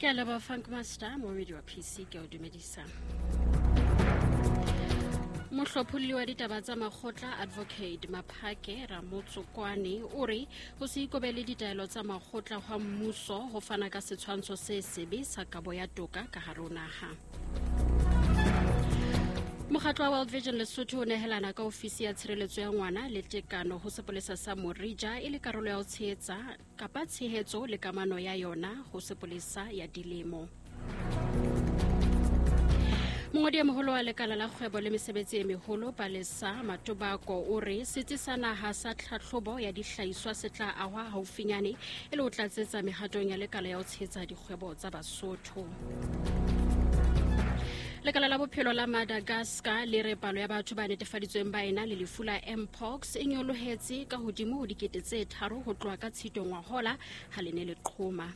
Ke a leboha Funk Master, momedi wa PC, ke a o dumedisa. Mohlopholli wa ditaba tsa makgotla Advocate Maphake Ramotsokwane o re ho se ikobele ditaelo tsa makgotla hwa mmuso ho fana ka setshwantsho se sebe sa kabo ya toka ka hare ho naha. Mokgatlo wa World Vision Lesotho o nehelana ka ofisi ya tshireletso ya ngwana le tekano ho sepolesa sa Morija e le karolo ya ho tshehetsa kapa tshehetso le kamano ya yona ho sepolesa ya dilemo. Mongodi e moholo wa lekala la kgwebo le mesebetsi e meholo Palesa Matobako o re setsi sa naha sa tlhatlhobo ya dihlahiswa se tla ahwa haufinyane e le ho tlatsetsa mehatong ya lekala ya ho tshehetsa dikgwebo tsa Basotho. Lekala la bophelo la Madagascar le re palo ya batho ba netefaditsweng ba ena le lefu la mpox e nyolohetse ka hodimo ho 3,000 ho tloha ka Tshito ngwahola ha le ne le qhoma.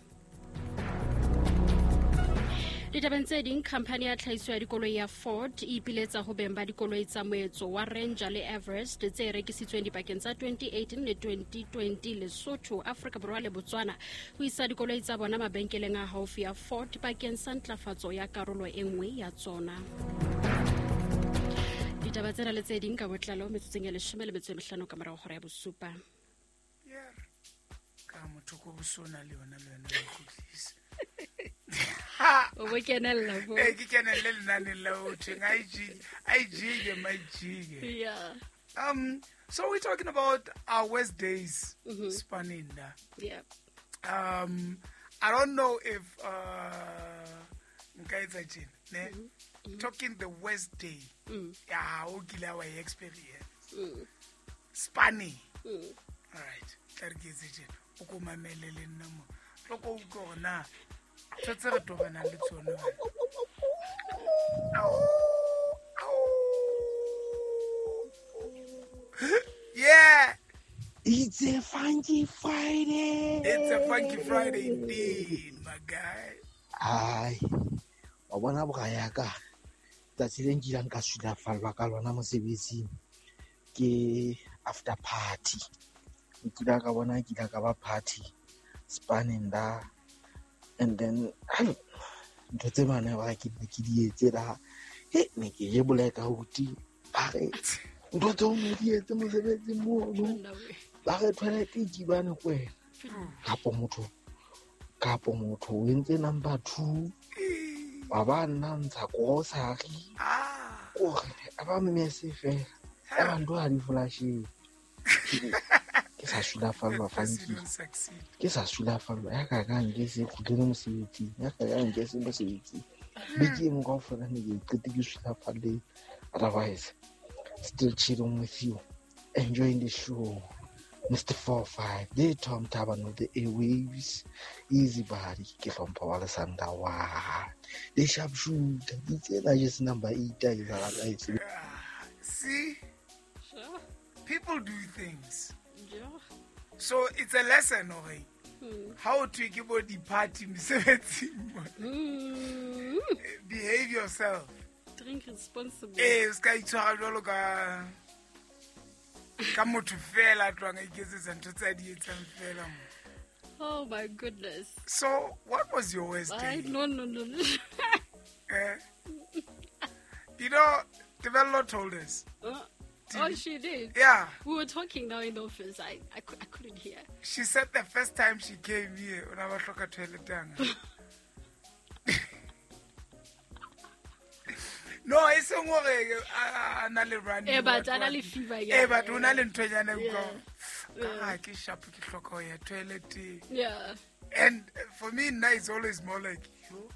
Ditabeng tse ding, khamphani ya tlhahiso ya dikoloi ya Ford e ipiletsa ho beng ba dikoloi tsa moetso wa Ranger le Everest tse rekisitsweng dipakeng tsa 2018 le 2020 Lesotho, Afrika Borwa le Botswana ho isa dikoloi tsa bona mabenkeleng a haufi a Ford bakeng sa ntlafatso ya karolo e nngwe ya tsona. Ditaba tsena le tse ding ka botlalo metsotsong ya 15 ka morago hora ya bosupa. Yeah. Ka motho ko bosona le yona le wena o kgutlise. O bo kenella bo. Eh, ke kenelle lenaneng la ho thweng a ijike, a ijike, majike. Yeah. So we're talking about our worst days, Spaninda. Yeah. I don't know if nka etsa tjena, ne? Talking the worst day. Ya o kile wa e experience. Spani. All right. Tla re ke etse tjena. O ko mamele le nna mo. Tlo ko utlwe hore na ntho tse re tobanang le tsona. Yeah. It's a funky Friday. It's a funky Friday indeed, my guy. Ai, wa bona bra ya ka. Tsatsi le nkileng ka sulafallwa ka lona mosebetsing ke after party. Nkile ka bona ke ile ka ba party spanning da, and then ntho tse bana ba ke ne ke di etse da, he ne ke je black out. Ba re ntho tseo ne di etse mosebetsing mono, ba re toilet e kibane ko wena. Kapo motho o entse number 2, ba ba nna ntsha grocery. Kore a ba mmese fela, ya ba ntho ha di flasheng. Ke sa sulafallwa funky. Ke sa sulafallwa ya ka ka nke se kgutlele mosebetsing, ya ka ka nke se mosebetsing. Beke e nngwe kaofela ne ke qete ke sulafalle. Otherwise, still chilling with you, enjoying the show. Mr. 45, the Tom Taban of the airwaves, easy body, ke hlompha wa le Sanda wa. The sharpshooter, di tsena just number 8 a e sa rata. See? Sure. People do things. Yeah. So it's a lesson, okay? How to give the party mesebetsing. Behave yourself. Drink responsibly. Eh, ska itshwara jwalo ka motho fela a tlohang a iketsetsa ntho tse a di etsang fela mo. Oh my goodness. So what was your worst day? No, no, no, no. You know, Tebello told us. Oh, she did? Yeah. We were talking now in the office. I couldn't hear. She said the first time she came here, o na ba hloka toilet yanga. No, e seng hore a na le running. Eh, but a na le fever, yeah. Eh, but o na le nthonyana e Yeah. utlwang. Yeah. Ah, ke sharp, ke hloka ho ya toilet. Yeah. And for me now it's always more like, yo,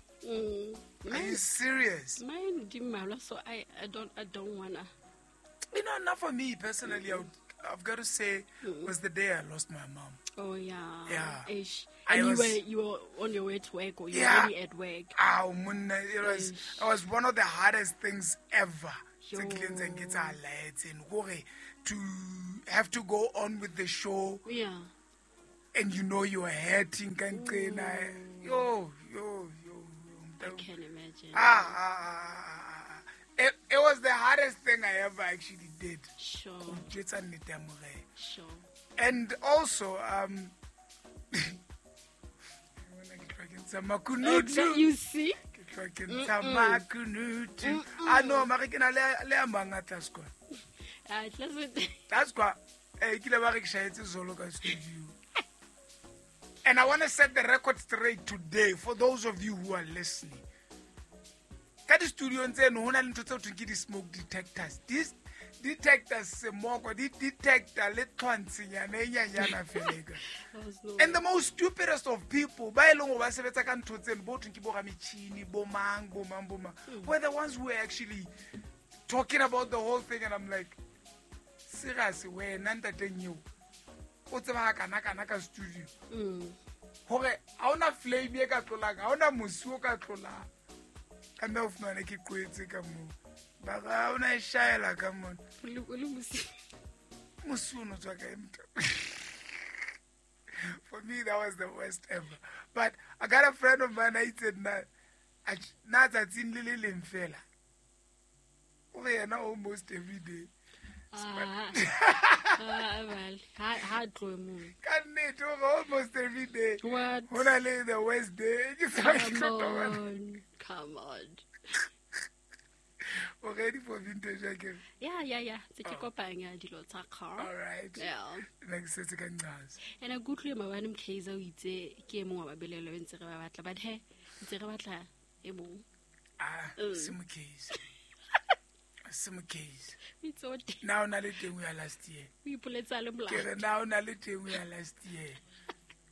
are you serious? Mine di mmalwa, so I don't wanna. You know, not for me personally. I've got to say, was the day I lost my mom. Oh yeah. Yeah. Ish. I And was you were on your way to work, or you were Yeah. already at work. Ow, monna, Ish. it was one of the hardest things ever. Yo. Tse kileng tsa nketsahala etseng, hore to have to go on with the show. Yeah. And you know you are hurting ka nqena. Yo, yo, yo, yo. I can imagine. It was the hardest thing I ever actually did. Sure. Ho jwetsa nnete ya Morena. Sure. And also, ntsha makunutu. You see? Ke tloha ke ntsha makunutu. Ah no, mare ke na le a mang a tlase kwa. Ah, tlase. Tlase kwa. Eh, ke ile ba re ke shahetse zolo ka studio. And I want to set the record straight today for those of you who are listening. Ka di-studiong tseno ho na le ntho tseo thweng ke di-smoke detectors. These detectors semoko, di detector le tlhwantshinyana e nyanyana fela. And the most stupidest of people, ba e leng hore ba sebetsa ka ntho tseno, bo thweng ke bo rametjhini, bo mang, bo mang, bo mang, were the ones who were actually talking about the whole thing. And I'm like, serious, wena ntateng eo, o tseba kana kana ka studio. Hore ha ona flame e ka tlolang, ha ona mosi o ka tlolang. Ka mme o fumane ke qwetse ka moo. Ba re, ha ona e shaela ka mona. O le mosi. Mosi o no tswa kae motho? For me, that was the worst ever. But I got a friend of mine, I said, na tsatsing le le leng fela. O re yena almost every day. Ah, well, ha tlohe moo. Ka nnete, o re almost every day. What? Ho na le the worst day. Ke sa ke Come tlo on, come on. O ready for vintage again? Yeah. Se ke kopanya dilo tsa car. All right. Yeah. Nna ke setse ka nqaza. And ke utlwile maobane Mkhize o itse ke e mong wa babelelo ntse re ba batla, but he ntse re batla e mong. Ah, se Mkhize. Se Mkhize. O itse o teng. Na o na le teng ya last year. O ipoletsa le molato. Ke re na o na le teng ya last year.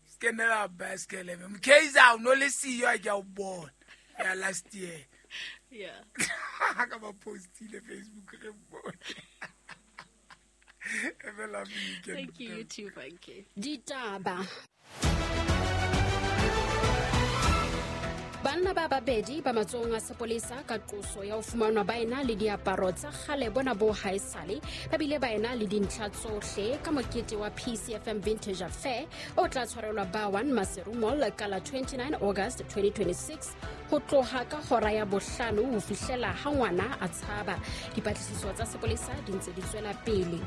Se kenela basket le. Mkhize o no le siyo a ke a o bona. Ya last year. Yeah. Ka ba postile Facebook re bone. Have a lovely weekend. Thank you, you too, Funky. Ditaba. Banna ba babedi ba matsohong a sepolesa ka qoso ya ho fumanwa ba ena le diaparo tsa kgale bona bo haesale, ba bile ba ena le dintlha tsohle ka mokete wa PCFM Vintage Affair o tla tshwarelwa ba 1 Maseru Mall ka la 29 August 2026 ho tloha ka hora ya 5 ho fihlela ha ngwana a tshaba. Dipatlisiso tsa sepolesa di ntse di tswela pele.